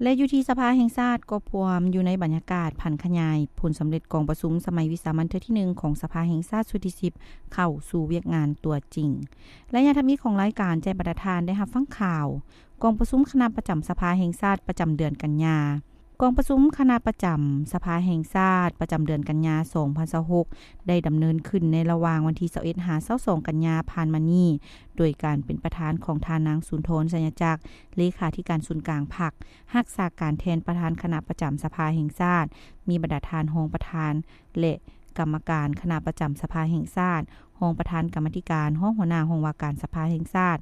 ແລະ ຢູ່ທີ່ສະພາແຫ່ງຊາດກໍພວມຢູ່ໃນບັນຍາກາດຜັນຂະຫຍາຍຜົນສຳເລັດກອງປະຊຸມສະໄໝວິສາມັນເທື່ອທີໜຶ່ງຂອງສະພາແຫ່ງຊາດຊຸດທີສິບ ເຂົ້າສູ່ວຽກງານຕົວຈິງ. ໄລຍະທຳອິດຂອງລາຍການແຈ້ງບັນດາທ່ານໄດ້ຮັບຟັງຂ່າວ ກອງປະຊຸມຄະນະປະຈຳສະພາແຫ່ງຊາດປະຈຳເດືອນກັນຍາ. ກອງປະຊຸມຄະນະປະຈຳສະພາແຫ່ງຊາດປະຈຳເດືອນກັນຍາ ສອງພັນຊາວຫົກ ໄດ້ດຳເນີນຂຶ້ນໃນລະຫວ່າງວັນທີ ຊາວເອັດ ຫາ ຊາວສອງ ກັນຍາຜ່ານມານີ້ ໂດຍການເປັນປະທານຂອງທ່ານນາງ ສຸນທອນ ໄຊຍະຈັກ ເລຂາທິການສູນກາງພັກ, ຮັກສາການແທນປະທານຄະນະປະຈຳສະພາແຫ່ງຊາດ, ມີບັນດາທ່ານຮອງປະທານ ແລະ ກຳມະການຄະນະປະຈຳສະພາແຫ່ງຊາດ, ຮອງປະທານກຳມາທິການ, ຮອງຫົວໜ້າຫ້ອງວ່າການສະພາແຫ່ງຊາດ,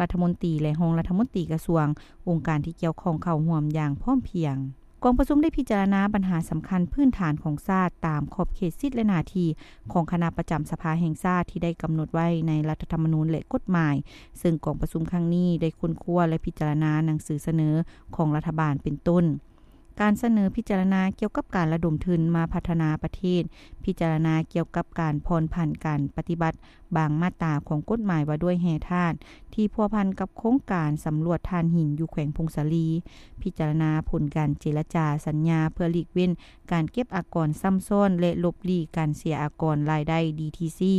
ລັດຖະມົນຕີ ແລະ ຮອງລັດຖະມົນຕີກະຊວງ, ອົງການທີ່ກ່ຽວຂ້ອງເຂົ້າຮ່ວມຢ່າງພ້ອມພຽງ. ກອງປະຊຸມໄດ້ພິຈາລະນາບັນຫາສຳຄັນພື້ນຖານຂອງຊາດຕາມຂອບເຂດສິດ ແລະ ໜ້າທີ່ຂອງຄະນະປະຈຳສະພາແຫ່ງຊາດທີ່ໄດ້ກຳນົດໄວ້ໃນລັດຖະທຳມະນູນ ແລະ ກົດໝາຍ, ເຊິ່ງກອງປະຊຸມຄັ້ງນີ້ໄດ້ຄົ້ນຄວ້າ ແລະ ພິຈາລະນາໜັງສືສະເໜີຂອງລັດຖະບານເປັນຕົ້ນ ການສະເໜີພິຈາລະນາກ່ຽວກັບການລະດົມທຶນມາພັດທະນາປະເທດ, ພິຈາລະນາກ່ຽວກັບການຜ່ອນຜັນການປະຕິບັດບາງມາດຕາຂອງກົດໝາຍວ່າດ້ວຍແຮ່ທາດທີ່ພົວພັນກັບໂຄງການສຳຫຼວດຖ່ານຫີນຢູ່ແຂວງຜົ້ງສາລີ, ພິຈາລະນາຜົນການເຈລະຈາສັນຍາເພື່ອຫຼີກເວັ້ນການເກັບອາກອນຊ້ຳຊ້ອນ ແລະ ຫຼົບຫຼີກການເສຍອາກອນລາຍໄດ້ ດີທີຊີ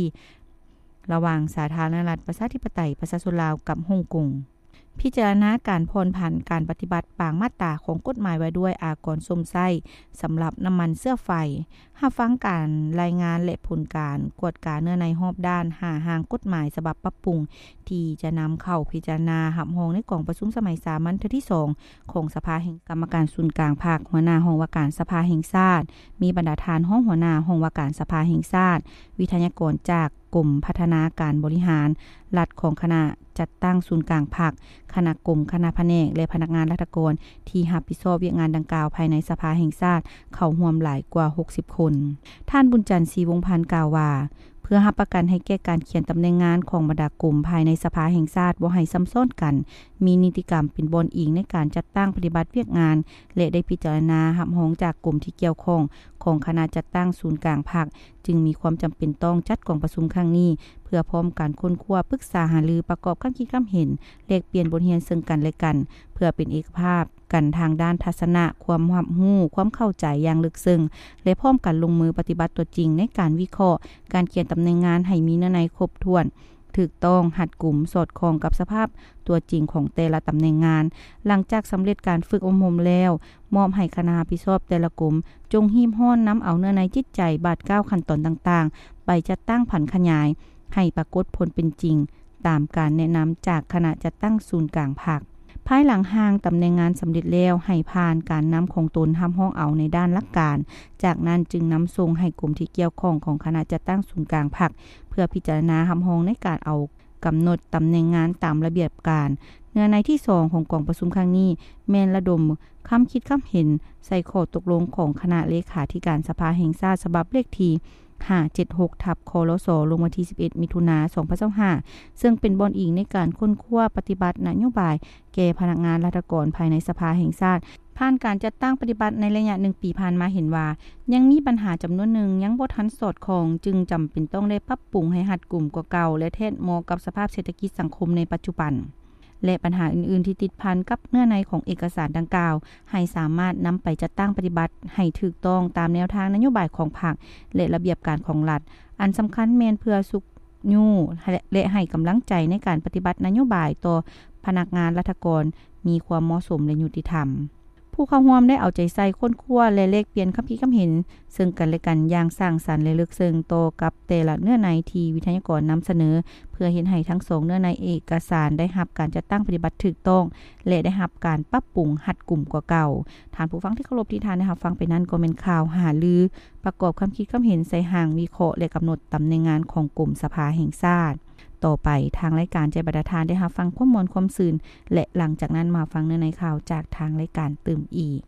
ລະຫວ່າງສາທາລະນະລັດປະຊາທິປະໄຕປະຊາຊົນລາວກັບຮົງກົງ. ພິຈາລະນາການຜ່ອນຜັນການປະຕິບັດບາງມາດຕາຂອງກົດໝາຍວ່າດ້ວຍອາກອນຊົມໃຊ້ສຳລັບນ້ຳມັນເຊື້ອໄຟ, ຮັບຟັງການລາຍງານ ແລະ ຜົນການກວດກາເນື້ອໃນຮອບດ້ານຫ້າຮ່າງກົດໝາຍສະບັບປັບປຸງ ທີ່ຈະນຳເຂົ້າພິຈາລະນາຮັບຮອງໃນກອງປະຊຸມສະໄໝສາມັນເທື່ອທີສອງຂອງສະພາແຫ່ງ ກຳມະການສູນກາງພັກ, ຫົວໜ້າຫ້ອງວ່າການສະພາແຫ່ງຊາດ, ມີບັນດາທ່ານຮອງຫົວໜ້າຫ້ອງວ່າການສະພາແຫ່ງຊາດ, ວິທະຍາກອນຈາກ ກົມພັດທະນາການບໍລິຫານລັດຂອງຄະນະຈັດຕັ້ງສູນກາງພັກ, ຄະນະກົມ, ຄະນະພະແນກ ແລະ ພະນັກງານລັດຖະກອນທີ່ຮັບຜິດຊອບວຽກງານດັ່ງກ່າວພາຍໃນສະພາແຫ່ງຊາດເຂົ້າຮ່ວມຫຼາຍກວ່າຫົກສິບຄົນ. ທ່ານ ບຸນຈັນ ສີວົງພັນ ກ່າວວ່າ ເພື່ອຮັບປະກັນໃຫ້ແກ່ການຂຽນຕຳແໜ່ງງານຂອງບັນດາກົມພາຍໃນສະພາແຫ່ງຊາດບໍ່ໃຫ້ຊ້ຳຊ້ອນກັນ, ມີນິຕິກຳເປັນບ່ອນອີງໃນການຈັດຕັ້ງປະຕິບັດວຽກງານ ແລະ ໄດ້ພິຈາລະນາຮັບຮອງຈາກກົມທີ່ກ່ຽວຂ້ອງຂອງຄະນະຈັດຕັ້ງສູນກາງພັກ ຈຶ່ງມີຄວາມຈຳເປັນຕ້ອງຈັດກອງປະຊຸມຄັ້ງນີ້ ເພື່ອພ້ອມກັນຄົ້ນຄວ້າ, ປຶກສາຫາລື, ປະກອບຄຳຄິດຄຳເຫັນ, ແລກປ່ຽນບົດຮຽນເຊິ່ງກັນແລະກັນ ເພື່ອເປັນເອກະພາບກັນທາງດ້ານທັດສະນະ, ຄວາມຮັບຮູ້, ຄວາມເຂົ້າໃຈຢ່າງເລິກເຊິ່ງ ແລະ ພ້ອມກັນລົງມືປະຕິບັດຕົວຈິງໃນການວິເຄາະ, ການຂຽນຕຳແໜ່ງງານໃຫ້ມີເນື້ອໃນຄົບຖ້ວນ, ຖືກຕ້ອງ, ຮັດກຸມ, ສອດຄ່ອງກັບສະພາບຕົວຈິງຂອງແຕ່ລະຕຳແໜ່ງງານ. ຫຼັງຈາກສຳເລັດການຝຶກອົບຮົມແລ້ວ, ມອບໃຫ້ຄະນະຮັບຜິດຊອບແຕ່ລະກົມ ຈົ່ງຮີບຮ້ອນນຳເອົາເນື້ອໃນຈິດໃຈ, ບາດກ້າວ, ຂັ້ນຕອນຕ່າງໆ ໄປຈັດຕັ້ງຜັນຂະຫຍາຍໃຫ້ປາກົດຜົນເປັນຈິງ ຕາມການແນະນຳຈາກຄະນະຈັດຕັ້ງສູນກາງພັກ. ພາຍຫຼັງຮ່າງຕຳແໜ່ງງານສຳເລັດແລ້ວ, ໃຫ້ຜ່ານການນຳຂອງຕົນຮັບຮອງເອົາໃນດ້ານຫຼັກການ, ຈາກນັ້ນຈຶ່ງນຳສົ່ງໃຫ້ກົມທີ່ກ່ຽວຂ້ອງຂອງຄະນະຈັດຕັ້ງສູນກາງພັກ ເພື່ອພິຈາລະນາຮັບຮອງໃນການເອົາ ກຳນົດຕຳແໜ່ງງານຕາມລະບຽບການ. ເນື້ອໃນທີສອງຂອງກອງປະຊຸມຄັ້ງນີ້ ແມ່ນລະດົມຄຳຄິດຄຳເຫັນໃສ່ຂໍ້ຕົກລົງຂອງຄະນະເລຂາທິການສະພາແຫ່ງຊາດ ສະບັບເລກທີຫ້າເຈັດຫົກ ທັບ ຄລສ ລົງວັນທີສິບເອັດ ມິຖຸນາ ສອງພັນຊາວຫ້າ ເຊິ່ງເປັນບ່ອນອີງໃນການຄົ້ນຄວ້າປະຕິບັດນະໂຍບາຍແກ່ພະນັກງານລັດຖະກອນພາຍໃນສະພາແຫ່ງຊາດ. ຜ່ານການຈັດຕັ້ງປະຕິບັດໃນໄລຍະໜຶ່ງປີຜ່ານມາເຫັນວ່າ ຍັງມີບັນຫາຈຳນວນໜຶ່ງຍັງບໍ່ທັນສອດຄ່ອງ, ຈຶ່ງຈຳເປັນຕ້ອງໄດ້ປັບປຸງໃຫ້ຮັດກຸມກວ່າເກົ່າ ແລະ ແທດເໝາະກັບສະພາບເສດຖະກິດສັງຄົມໃນປັດຈຸບັນ ແລະ ບັນຫາອື່ນໆທີ່ຕິດພັນກັບເນື້ອໃນຂອງເອກະສານດັ່ງກ່າວ ໃຫ້ສາມາດນຳໄປຈັດຕັ້ງປະຕິບັດໃຫ້ຖືກຕ້ອງຕາມແນວທາງນະໂຍບາຍຂອງພັກ ແລະ ລະບຽບການຂອງລັດ. ອັນສຳຄັນແມ່ນເພື່ອຊຸກຍູ້ ແລະ ໃຫ້ກຳລັງໃຈໃນການປະຕິບັດນະໂຍບາຍຕໍ່ພະນັກງານລັດຖະກອນມີຄວາມເໝາະສົມ ແລະ ຍຸຕິທຳ. ຜູ້ເຂົ້າຮ່ວມໄດ້ເອົາໃຈໃສ່ຄົ້ນຄວ້າ ແລະ ແລກປ່ຽນຄຳຄິດຄຳເຫັນເຊິ່ງກັນແລະກັນຢ່າງສ້າງສັນ ແລະ ເລິກເຊິ່ງຕໍ່ກັບແຕ່ລະເນື້ອໃນທີ່ວິທະຍາກອນນຳສະເໜີ ເພື່ອເຮັດໃຫ້ທັງສອງເນື້ອໃນເອກະສານໄດ້ຮັບການຈັດຕັ້ງປະຕິບັດຖືກຕ້ອງ ແລະ ໄດ້ຮັບການປັບປຸງຮັດກຸມກວ່າເກົ່າ. ທ່ານຜູ້ຟັງທີ່ເຄົາລົບ, ທີ່ທ່ານໄດ້ຮັບຟັງໄປນັ້ນກໍແມ່ນຂ່າວຫາລື ປະກອບຄຳຄິດຄຳເຫັນໃສ່ຮ່າງວິເຄາະ ແລະ ກຳນົດຕຳແໜ່ງງານຂອງກົມສະພາແຫ່ງຊາດ. ຕໍ່ໄປ, ທາງລາຍການຈະໃຫ້ບັນດາທ່ານໄດ້ຮັບຟັງຄວາມມ່ວນຄວາມຊື່ນ ແລະ ຫຼັງຈາກນັ້ນມາຟັງເນື້ອໃນຂ່າວຈາກທາງລາຍການຕື່ມອີກ.